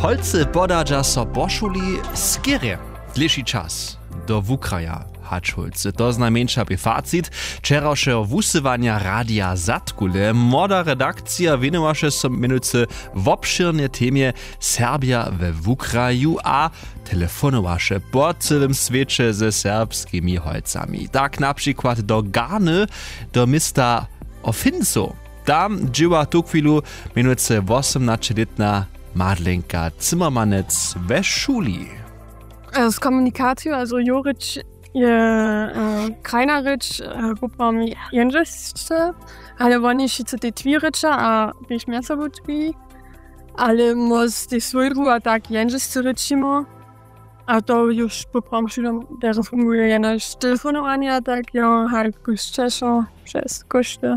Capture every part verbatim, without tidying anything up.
Holcy podadźa so po šuli skerje dlěši čas do wukraja. Hač holcy, to znajmjeńša bě facit wčerawšeho wusyłanja radija zadkule. Młoda redakcija wěnowaše so mjenujcy wobšěrnje temje serbja we wukraju a telefonowaše po cyłym swěće ze serbskimi holcami, tak na přikład do garny, do města ofincow. Tam dźěła tuchwilu mjenujcy wosomnaćelětna madlenka zimmermanec we šuli. Z komunikaciju, also jo rěč je krajna rěč, poprawom jendźelšće, ale woni wšitcy tej twi rěča a tež mjezsobu twi, ale móz tež swójbu a tak jendźelšće rěčimo. A to już poprawom wšudom derje funguje jenož telefonowanje a tak jo haj kóšćešo přez kóšty.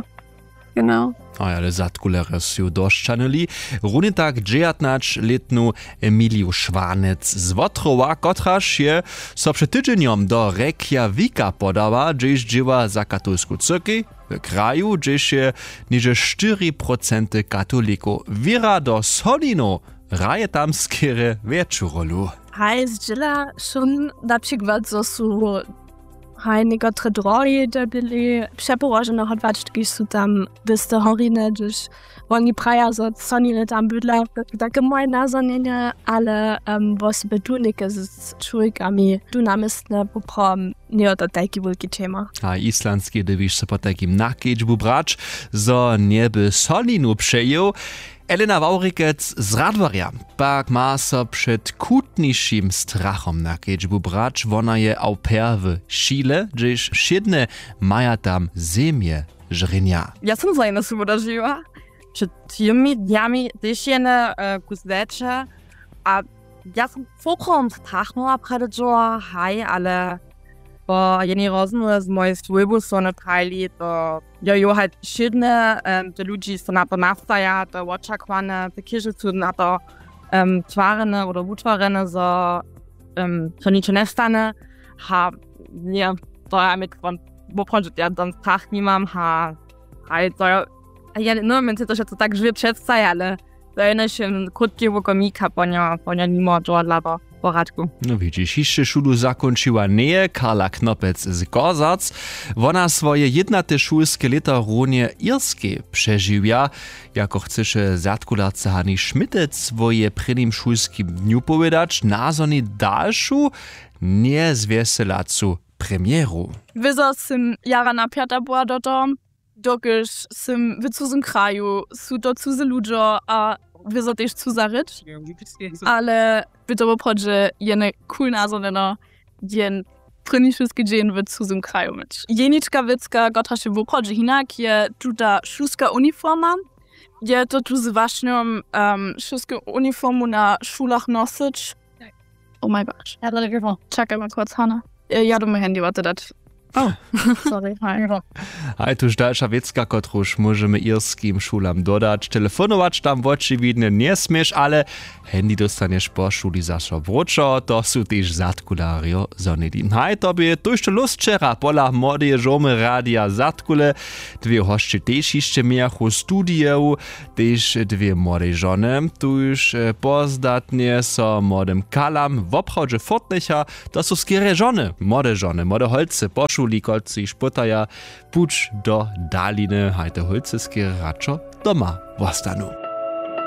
Genau. A ale zadkulerjo su dosćanyli runje tak dźejatnaćlětnu emiliju šwanec z wotrowa, kotraž je so před tydźenjom do rjekja wika podała, hdźež dźěła za katolsku cyrkej w kraju, hdźež je něhdźe štyri procenty katolikow. Wěra do solinow hraje tam skerje wjetšu rólu. Haj zdźěla šón na přikład zo su haj někotre drohi dyrbili přepołožene hodłać kiž su tam wěste horiny hdyž woni praja zo soniny tam bydla. Take moje nazhonjenje, ale wósoby tu něke z čłowjekami tu namjestne poprawom njejo to tajki wulki tema. A islandski dybiš so potajkim na kedźbu brać zo njeby soninu přejěł. Elena wawrikec z radworja pak ma so před chutnišim strachom na kedźbu brać. Wona je au pair w chile hdźež wšědne maja tam zemje žrjenja. Ja som zajene su wodažiła před tymi dnjami tež jene kus dzeće a ja som poprawom strachnowa prjedy dźoła haj ale po jenej rozmołwje z mojej swójbu su wone prajili to jo jo haj wšědne te ludźi so na to nastaja to je wočakowanje te chěže su na to twarjene abo wutwarjene zo to ničo njestanje. Ha nje to ja mi woprawdźe ja tam strach nimam ha haj to jo ja njemohłym se to wšetco tak žwě předstajić ale to je jenož jen krótki wukomik a po njo po njo nimo dźowadla do poradku. No widźiš hišće šulu zakónčiła njeje karla knopec z gorzac. Wona swoje jědnate šulske lěto runje irskej přežiwja. Jako chcyše zadkularce hani šmitec swóje prěnim šulskim dnju powědać nazhoni dalšu njezwjeselacu premjeru. Wězo sym jara napjata była do toho dokelž sym w cuzym kraju su to cuze ludźo a wězo tež cuza rěč. Ale by to woprawdźe jene cool nazhonjeno jen prěni šulski dźeń w cuzym kraju myć jenička wěcka kotraž je woprawdźe hinak je tuta šulska uniforma. Je to tu z wašnjom šulsku uniformu na šulach nosyć? Oh my gosh. Čakaj ma krótc hana. Ja doma handy wate dać. Oh. Sorry. Haj tuž dalša wěcka kotruž móžemy irskim šulam dodać telefonować tam wočiwidnje njesměš ale handy dóstanješ po šuli zaso wróćo to su tež zadkularjo zhonili haj to bě tójšto lóst wčera pola młodeje žołmy radija zadkule. Dwě hosće tež hišće mějachu w studiju tež dwě młodej žony tuž pozdatnje so młodym kalam woprawdźe furtnjecha. To su skerje žony młode žony młode holcy po šuli kotřiž pytaja puć do daliny haj te holcy skerje radšo doma wostanu.